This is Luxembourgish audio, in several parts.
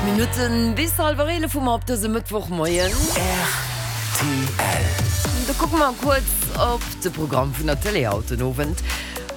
Minutten bis hallwer 11 hu mer op dësem Mëttwochmoien. Rtl. Da kucke mer kuerz op de Programm vun der Tëlee haut den Owend.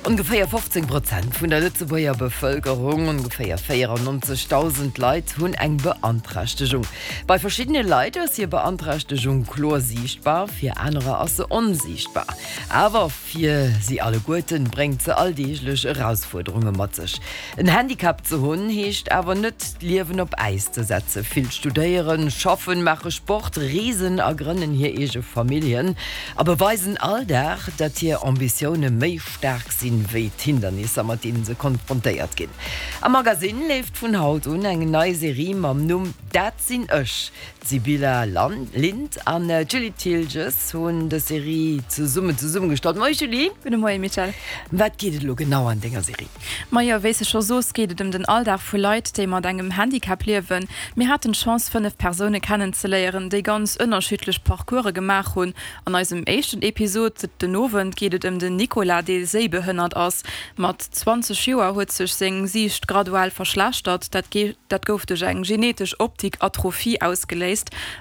Ongeféier 15 Prozent vun der Lëtzebuerger Bevëlkerung, ongeféier 94.000 Leit, hunn eng Beanträchtegung. Bei verschiddene Leit ass hir Beanträchtegung kloer siichtbar, fir anerer ass se onsiichtbar. Awer fir si alleguerten bréngt se alldeeglech Erausfuerderunge mat sech. En Handicap ze hunn, heescht awer net, d'Liewen op Äis ze setzen. Vill studéieren, schaffen, maache Sport, reesen a grënnen hir eege Familljen a beweisen all Dag, datt hir Ambitioune méi staark sinn, wéi d'Hindernisser, mat deene se konfrontéiert ginn. Am Magasinn leeft vun haut un eng nei Serie mam Numm Dat sinn ech. D'Sibylla Lint an d'Julie Thiltges hunn dës Serie zesummen zesummegestallt. Moie Julie. Gudde Moie Michèle. Ëm wat geet et elo genau an denger Serie? Majo, wéi s de scho soos, geet et ëm den Alldag vu Leit, déi mat engem Handicap liewen. Mir haten d'Chance, 5 Persoune kennenzeléieren, déi ganz ënnerschiddlech Parcourse gemaach hunn. An eisem éischten Episod den Owend geet et ëm den Nicolas, dee séibehënnert ass. Mat 20 Joer huet sech seng Siicht graduell verschlechtert. Dat dat gouf duerch eng genetesch Optik-Atrophie ausgeléist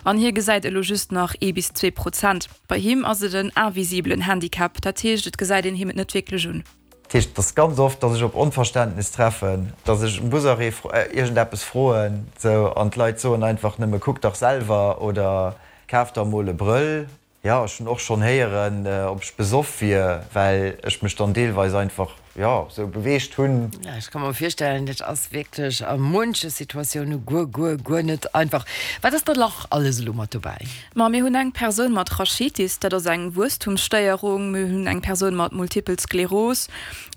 an hie gesäit elo just nach ee bis 2%. Bei him ass et en invisibelen Handicap, dat heescht et gesäit een him et net wierklech un. Dat heescht, et ass ganz oft, dass ech op Onverständnis treffen, dass ech um Busarrêt iergendeppes froen, sou, an d'Leit soen einfach nëmme, Kuck dach selwer oder Kaf der emol e Brëll. Jo, ech hunn och schonn héieren, ob ech besoff wier, well ech mech dann deelweis einfach, jo, sou beweegt hunn. Ja, ech ka mer virstellen, dat ass wierklech a munche Situatioune guer, guer, guer net einfach. Wat ass da nach alles elo mat dobäi? Ma mir hunn eng Persoun mat Rachitis, dat ass eng Wuesstumsstéierung. Mir hunn eng Persoun mat Multipel Skleros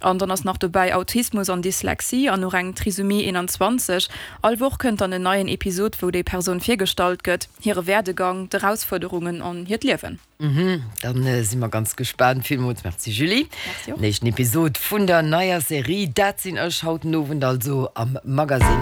an dann ass nach dobäi Autismus an Dyslexie an och eng Trisomie 21. All Woch kënnt dann en neien Episod, wou déi Persoun virgestallt gëtt. Hire Werdegang, d'Erausfuerderungen an hiert Liewen. Mhm, dann si mer ganz gespaant. Villmools Merci Julie. Merci och. Den éischten Episod vun der neier Serie Dat sinn ech haut den Owend also am Magasinn.